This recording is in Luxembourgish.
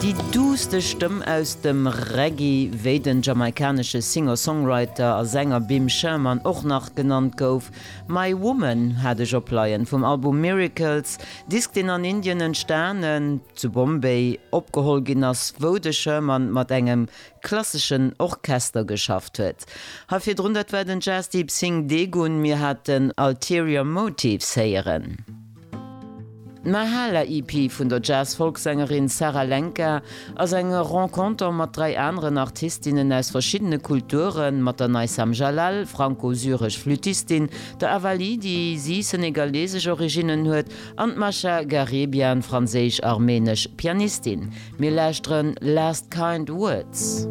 Déi duusste Stëmm aus dem Reggae, wéi den jamaikanesche Singer-Songwriter a Sänger Bim Sherman och nach genannt gouf. My Woman hat ech opleien, vum Album Miracles, Disk deen an Indien entstanen, zu Bombay opgeholl ginn ass, wou de Sherman mat engem klasseschen Orchester geschafft huet. Hei virdrun, dat war den Jasdeep Singh Degun, mir haten Ulterior Motives héieren. D'Mahala EP vun der Jazz-Folksängerin Sarah Lenka ass eng Renconter mat 3 aneren Artistinnen aus verschiddene Kulturen, mat der Naïssam Jalal, franco-syresch Flüttistin, der Avali, déi si senegalesesch Originnen huet, an d'Masha Garibian, franséisch-armenesch Pianistin. Mir lauschteren Last Kind Words.